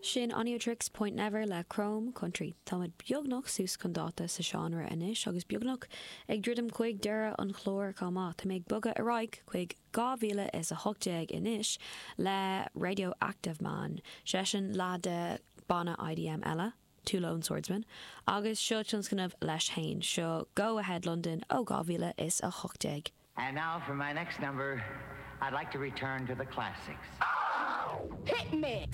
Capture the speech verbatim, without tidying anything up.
Sin Oneohtrix Point Never le Chrome Country. Táimid beagnach suas chun dáta sa seánra anois agus beagnach ag druidim chuig deireadh an chláir chomh maith tá mé ag bogadh ar aghaidh chuig dhá mhíle is a hocht déag anois le Radioactive Man, seisean le de banna IDM eile, Two Lone Swordsmen, agus seo tionscnamh leis féin seo Go Ahead London ó dhá mhíle is a hocht déag. And now for my next number, I'd like to return to the classics. Hit me!